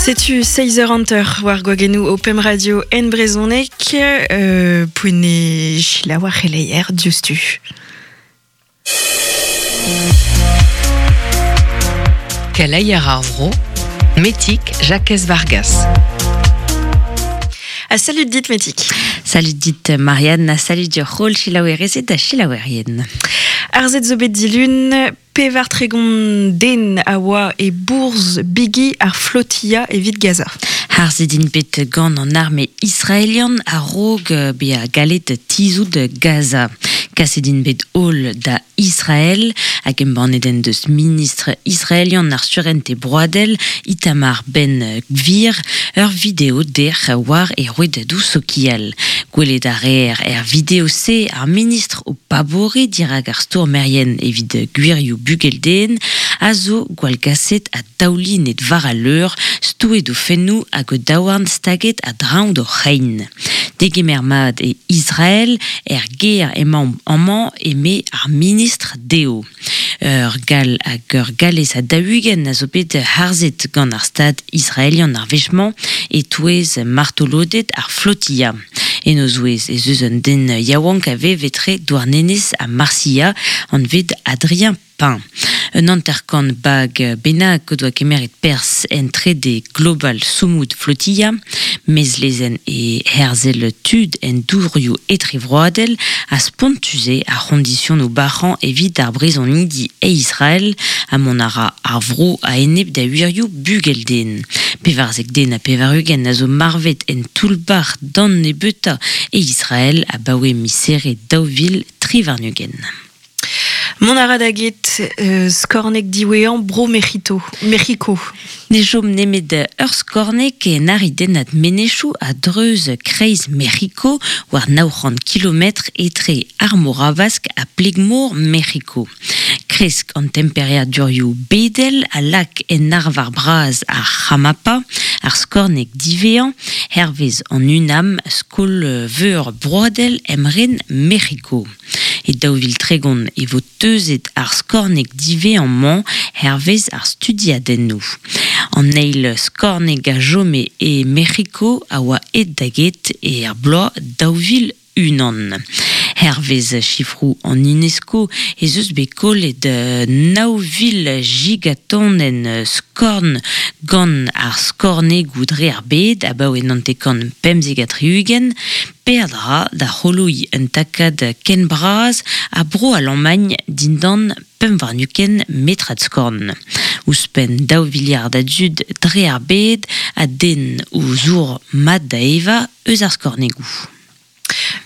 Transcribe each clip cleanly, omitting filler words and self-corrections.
Setu seizh eur hanter war gwagennoù ho pemp radio en brezhoneg euh, poent eo selaou ar c'heleier diouzhtu. Keleier ar vro, Metig Jakez Vargas. Ha salut dit Metig. Salut dit Marianne, ha salut dioc'h holl selaouerezed ha selaouerien. Arzet zo bet dilun 34 den a oa e bourzh bigi ar flotilla evit Gaza. Harzet int bet gant an arme israelian a-raok bezañ gallet tizhout Gaza. Kaset int bet holl da Israel hag embannet en deus ministr israelian ar surentez broadel Itamar Ben-Gvir ur video dec'h war e rouedadoù sokial. Gwelet a reer er video-se ar ministr o paboriñ dirak ar stourmerien evit gwirioù bugel-den a zo gwallgaset ha daoulinet war al leur, stouet o fennoù hag o daouarn staget a-dreñv d'o c'hein. Degemer mat e Israel, er gêr emaomp amañ, eme ar ministr dezho. Ur Gall hag ur Gallez ha 40 a zo bet harzet gant ar Stad israelian ar wech-mañ e-touez martoloded ar flotilla. En o zouez ez eus un den yaouank a vev etre Douarnenez ha Marsilha, anvet Adrien Pain. Un hanter-kant bag bennak o doa kemeret perzh en trede Global Sumud Flotilla, mezlezenn e herzel tud en dourioù etrevroadel ha spontus eo ar c'hondisionoù bac'hañ evit ar brizonidi e Israel ha mont a ra ar vro a-enep da wirioù bugel-den. 14 den ha 80 a zo marvet en toull-bac'h d'an nebeutañ e Israel abaoe miz Here 2023. Mont a ra da get skorneg diwezhañ Bro Mec'hito, Mec'hiko. Ne chom nemet ur skorneg en aridennad menezioù a-dreuz kreiz Mec'hiko war 900 kilometr etre ar Mor Habask ha pleg-mor Mec'hiko. Kresk an temperiadurioù bedel a lak en arvar bras ar Chamapa, ar skorneg diwezhañ, hervez an UNAM, Skol-veur broadel emren Mec'hiko. E 2030 e vo teuzet ar skorneg diwezhañ-mañ hervez ar studiadennoù. An eil skorneg a chome e Mec'hiko a oa aet da get er bloaz 2001. Hervez sifroù an UNESCO ez eus bet kollet 9,000 gigatonenn skorn gant ar skornegoù dre ar bed abaoe 1975. Peadra da c'holoiñ un takad ken bras ha Bro-Alamagn dindan 25 metrad skorn. Ouzhpenn daou viliard a dud dre ar bed a denn o zour mat da evañ eus ar skornegoù.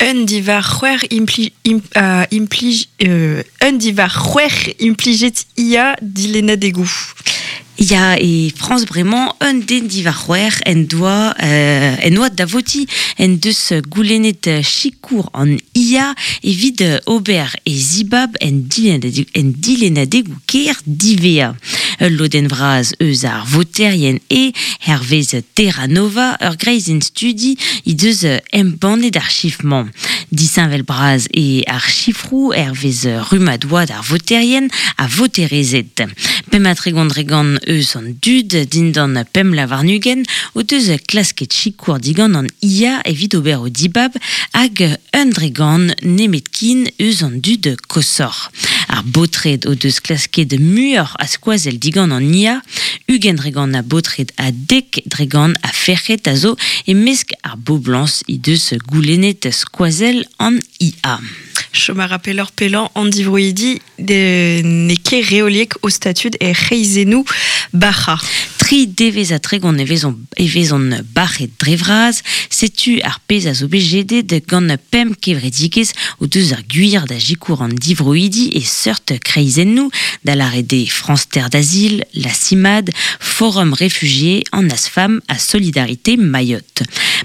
Un diwar c'hwec'h impli, imp, implij, un diwar c'hwec'h implijet IA dilennadegoù. Ya, e Frañs bremañ, un den diwar c'hwec'h en doa en oad da votiñ en deus goulennet sikour an IA evit ober e zibab en dilennadegoù kêr diwezhañ. Ul lodenn vras eus ar voterien eo, hervez Terra Nova, ur greizenn studi he deus embannet ar chifr-mañ. Disheñvel-bras eo ar sifroù hervez rummad oad ar voterien ha voterezed. 35 dre gant eus an dud dindan pemp vloaz warn-ugent o deus klasket sikour digant an IA evit ober o dibab hag un dre gant nemetken eus an dud koshoc'h. Ar baotred o deus klasket muioc'h a skoazell digant an IA, 20% a baotred ha 10% a ferc'hed a zo e-mesk ar boblañs he deus goulennet skoazell an IA. Chom a ra pelloc'h-pellañ an divroidi n'eo ket reoliek o statud er c'hreizennoù bac'hañ. Tri devezh ha 30 e vezont, e vezont bac'het dre vras. Setu ar pezh a zo bet jedet gant pemp kevredigezh o deus ar gwir da sikour an divroidi e seurt kreizennoù, da lâret eo France Terre d'Asile, la CIMAD, Forum Réfugiés, an Asfam ha Solidarité Mayotte.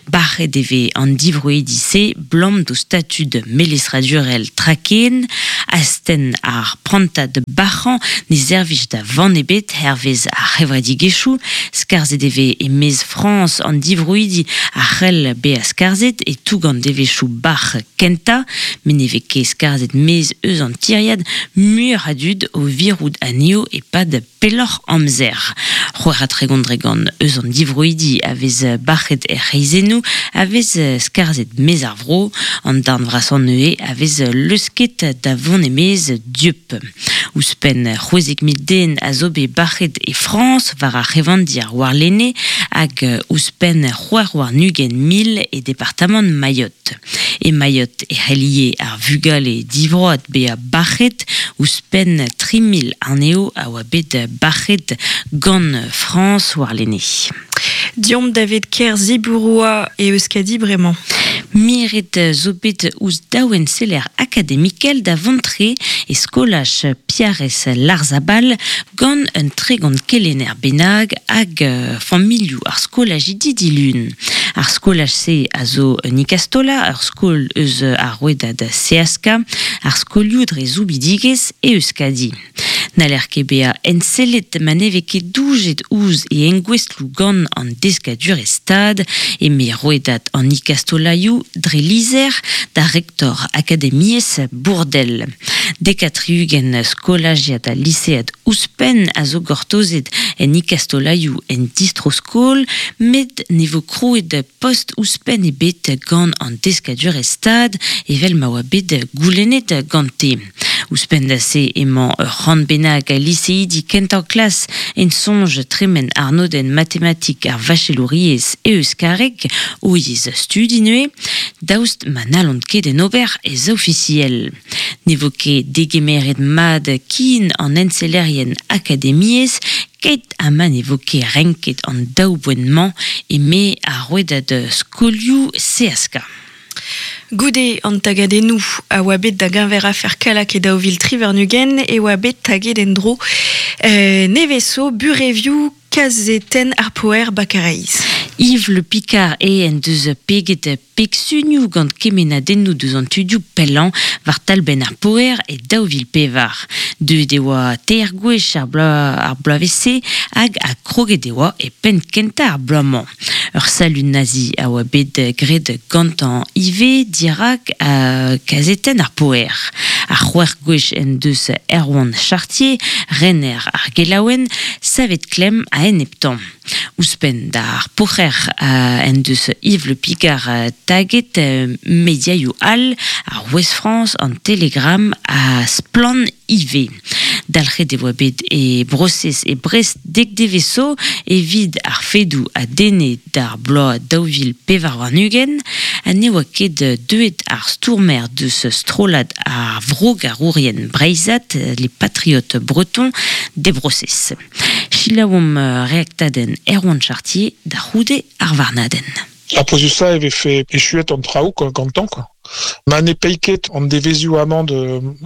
Bac'het e vez an divroidi-se 'blam d'o statud melestradurel traken, astenn ar prantad bac'hañ ne servij da vann ebet hervez ar c'hevredigezhioù. devezhioù. Skarzhet e vez e-maez Frañs an divroidi a c'hell bezañ skarzhet e-toug an devezhioù bac'h kentañ, met ne vez ket skarzhet maez eus an tiriad muioc'h a dud o virout anezho e-pad pelloc'h amzer. 36% eus an divroidi a vez bac'het er c'hreizennoù a vez skarzhet maez ar vro. An darn vrasañ anezhe a vez leusket da vont e-maez dieub. Ouzhpenn 16,000 den a zo bet bac'het e Frañs war ar c'hevandir warlene hag ouzhpenn 26,000 e departamant Mayotte. E Mayotte e c'hell ivez ar vugale divroad bezañ bac'het, ouzhpenn 3,000 anezho a oa bet bac'het gant Frañs warlene. Deomp davet kêr Ziburua e Euskadi bremañ. Miret zo bet ouzh daou enseller akademikel da vont-tre e skolaj Piarres Larzabal gant un 30 kelenner bennak hag familhoù ar skolajidi dilun. Ar skolaj-se a zo un ikastola, ur skol eus ar rouedad Seaska, ar skolioù dre soubidigezh e Euskadi. N'haller ket bezañ ensellet ma ne vez ket doujet ouzh e engouestloù gant an deskadurezh Stad, eme rouedad an ikastolaioù dre lizher da rektor akademiezh Bourdel. Dek ha tri-ugent skolajiad ha lisead ouzhpenn a zo gortozet en ikastolaioù en distro-skol, met ne vo krouet post ouzhpenn ebet gant an deskadurezh Stad evel ma oa bet goulennet gante. Ouzhpenn da se emañ ur c'hant bennak a liseidi kentañ klas en soñj tremen arnodenn matematik ar vachelouriezh e euskareg, o yezh studi neuze, daoust ma n'hallont ket en ober ez ofisiel. Ne vo ket degemeret mat kin an ensellerien akademiezh keit ha ma ne vo ket renket an daou boent-mañ eme ar rouedad skolioù Seaska. Goude an tagadennoù a oa bet da geñver afer Kallag e 2023 e oa bet taget en-dro nevez zo burevioù kazetenn ar Poer Bakareiz. Yves Le Picard eo en deus peget pegsunioù gant kemennadennoù deus an tudioù pellañ war talbenn ar Poer e 2004. Deuet e oa teir gwech ar bloavezh-se hag ha kroget e oa e penn kentañ ar bloaz-mañ. Ur salud nazi a oa bet graet gantañ ivez dirak kazetenn ar Poer. Ar c'hwec'h gwech en deus Erwan Chartier, rener ar gelaouenn, savet klemm a-eneptañ. Ouzhpenn d'ar Poc'her en deus Yves Le Picard taget mediaioù all, ar Ouest-France, an Telegram ha Splann ivez. Dalc'het e oa bet e brosez e Brest dek devezh zo evit ar fedoù a denne d'ar bloaz 2024 ha ne oa ket deuet ar stourmer deus strollad ar vrogarourien breizhat, les Patriotes Bretons, d'e brosez. Selaouomp reaktadenn Erwan Chartier da c'houde ar varnadenn. Ar pouezusañ e vefe echuet an traoù gantañ quoi. Ma ne pae ket an devezhioù amañ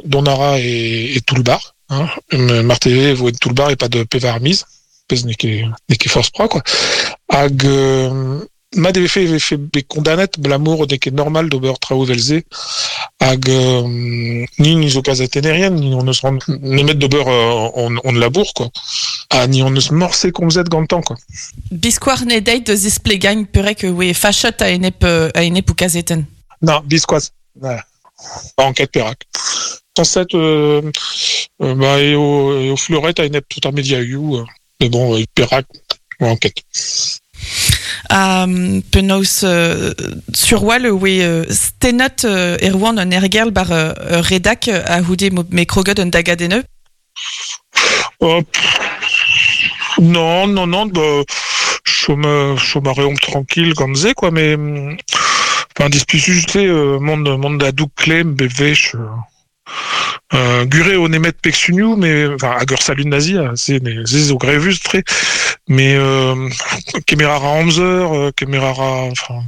dont a ra e toull-bac'h, hein, marteze e vo en toull-bac'h e-pad pevar miz, pezh n'eo ket n'eo ket forzh pra quoi. Hag mat e vefe e vefe bet kondanet abalamour n'eo ket normal d'ober traoù evel-se. Hag ni ni zo kazetennerien, ni hon eus nemet d'ober hon labour quoi. Ha ni hon eus morse komzet gantañ quoi. Biskoazh ne deit da zisplegañ perak e oe fachet a-enep a-enep ho kazetenn. Non, biskoazh. Enquête perak. Sañset bah eo eo fleuret a-enep tout ar mediaioù. Mais bon, perak enquête. Ha penaos sur-wal e oe stennet Erwan an Ergerl bar ur redak a-c'houde m'eo kroget un dagadenn Oh, non, non, non, bah, chom, chom a reomp tranquille gant se, quoi, mais enfin, displisus eo mont, mont da doug klemm bep wech. Gure eo nemet pegsunioù, mais enfin, hag ur salud nazi, se, se zo grevus-tre, mais kemer a ra amzer, kemer a ra, enfin,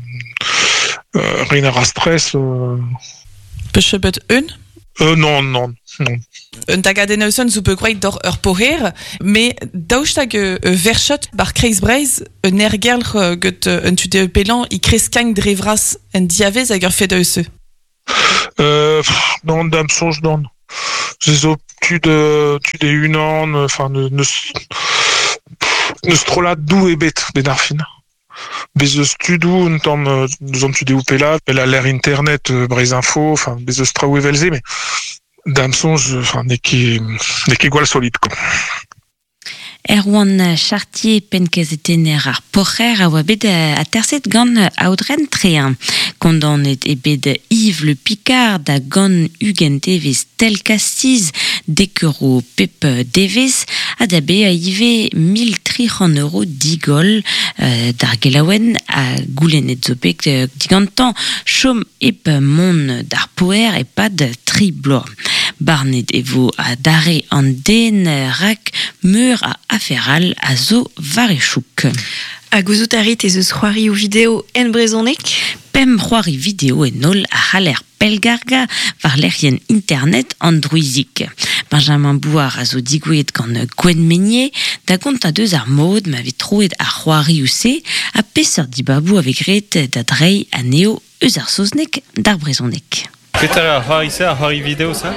reiñ a ra stress. Peus bet un? Non, non, non. Un tagadenn eus zo bet gwraet doc'h ur poher, met daoust hag verchet bar Kreiz-Breizh un aergelc'h get un tu pellañ e kreskañ dre vras en diavez hag ur fed eus. Non, da'm soñj non. Se zo tud tud e-unan, enfin, neus Neus trollad dou ebet ben ar fin. Bez eus tudou un tamm deus an tudeoù pella, pel a l'air internet, Breizh Info, enfin, bez eus traoù evel-se, mais da'm soñj, enfin, n'eo ket gwall solid, quoi. Erwan Chartier penn-kazetenner ar Poc'her a oa bet aterset gant Aodren Trein. Kondaonet eo bet Yves Le Picard da gant 20 devezh tel-kastiz, dek euro pep devezh, ha da bezañ ivez 1300 euro digoll d'ar gelaouenn ha goulennet zo bet digantañ chom hep mont d'ar poer e-pad tri bloaz. Barnet e vo adarre an den rak meur a afer all a zo war e chouk. Ha gouzout a rit ez eus c'hoarioù video en brezhoneg? Pemp c'hoari video en holl a c'haller pellgargañ war lec'hienn internet an Drouizig. Benjamin Bouard a zo digouezhet gant Gwenn Meynier da gontañ deus ar mod ma vez troet ar c'hoarioù-se ha peseurt dibaboù a vez graet da dreiñ anezho eus ar saozneg d'ar brezhoneg. Petra eo ar c'hoari-se, ar c'hoari video-se?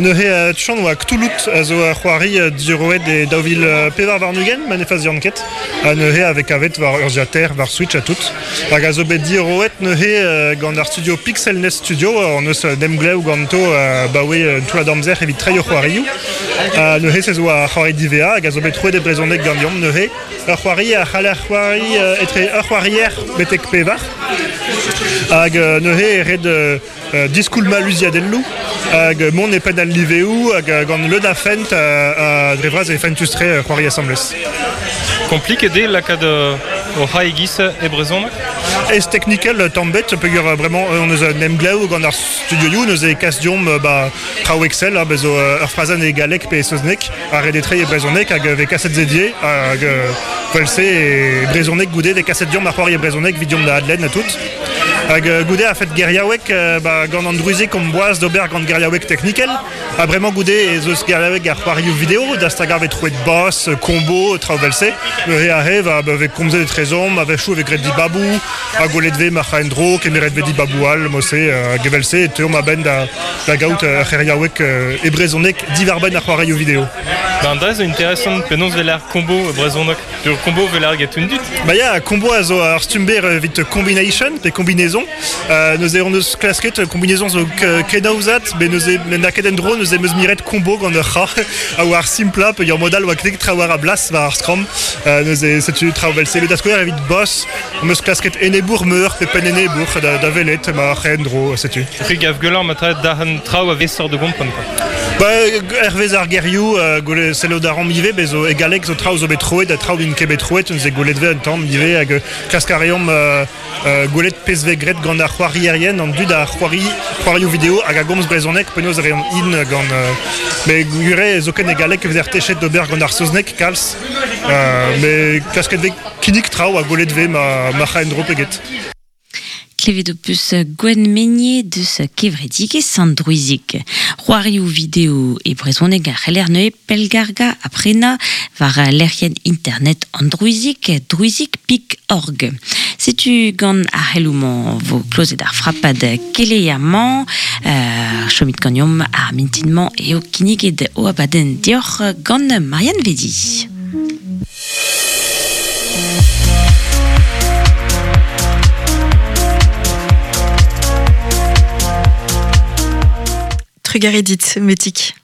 Neuze Tchon oa Cthulhu a zo ur c'hoari diorroet e 2024, ma ne fazian ket. Ha neuze a vez kavet war urzhiataer, war Switch ha tout. Hag a zo bet diorroet neuze gant ar studio Pixel Nest Studio, hon eus emglev ganto 'baoe un toullad amzer evit treiñ o c'hoarioù. Ha neuze se zo ar c'hoari DVA hag a zo bet troet e brezhoneg ganeomp neuze. Ur c'hoari a c'haller c'hoari etre ur c'hoarier betek pevar. Hag neuze e ret diskoulmañ luziadelloù hag mont e penn al liveoù hag gant leun a fent ha dre vras e fentus-tre c'hoari asambles. Kompliket eo lakaat o c'hae e-giz e brezhoneg? Ez teknikel tamm bet peogwir bremañ on eus un emglev gant ar studioioù neuze e kas deomp ba traoù Excel ha bez zo ur frazenn e galleg pe e saozneg ha ret eo treiñ e brezhoneg hag vez kaset se die hag vel-se e brezhoneg goude vez kaset deomp ar c'hoari e brezhoneg evit deomp da adlenn ha tout. Hag goude a-fet geriaoueg ba, gant an drouizig omp boaz d'ober gant geriaoueg teknikel ha bremañ goude ez eus geriaoueg ar c'hoarioù video da stagañ vez troet boss, combo, traoù vel-se. Neuze aze va, ba, vez komzet etrezomp, a-wechoù e vez graet dibaboù ha gwelet vez ma c'ha en-dro, kemeret vez dibaboù all mod-se hag evel-se e teuomp a-benn da, da gaout ur c'heriaoueg e brezhoneg diwar-benn ar c'hoarioù video. Ben da zo interesant penaos 'vel ar combo e brezhoneg. Ur combo 'vel ar get un dud. Ba ya, combo a zo ar stumm berr evit combination pe combinaison. Neuze hon eus klasket combinaison zo kenaozat, met neuze n'a ket en-dro neuze 'm eus miret combo gant ur c'ha a oa ar simplañ peogwir mod all oa ket traoù war a blas war ar skramm. Neuze setu traoù 'vel-se. Met da skouer evit boss, 'm eus klasket enebour meur pe penn enebour da, da welet ma c'hendro, setu. C'hwi gav gwelloc'h ma tra dac'han traoù a vesoc'h da gompren quoi. Ba, hervez ar gerioù, gwelet sellout a raomp ivez, bez zo e galleg zo traoù zo bet troet ha traoù n'int ket bet troet, neuze gwelet vez un tamm ivez hag klask a reomp gwelet pezh vez graet gant ar c'hoarierien, an dud a c'hoari c'hoarioù video hag a gomz brezhoneg, penaos e reont int gant... Mais gwir eo zoken e galleg e vezer techet d'ober gant ar saozneg kalz, mais klasket vez Kinnig traoù ha gwelet 'vez ma ma c'ha en-dro pe get. Klevet ho peus Gwenn Meynier deus kevredigezh Sant Drouizig. C'hoarioù video e brezhoneg a c'heller neuze pellgargañ ha prenañ war lec'hienn internet an Drouizig, drouizig.org. Setu gant ar c'heloù-mañ vo klozet ar frapad keleier-mañ. Chomit ganeomp ar mintin-mañ eo kinniget o abadenn deoc'h gant Marianne Vedi. Trugarez dit, Metik.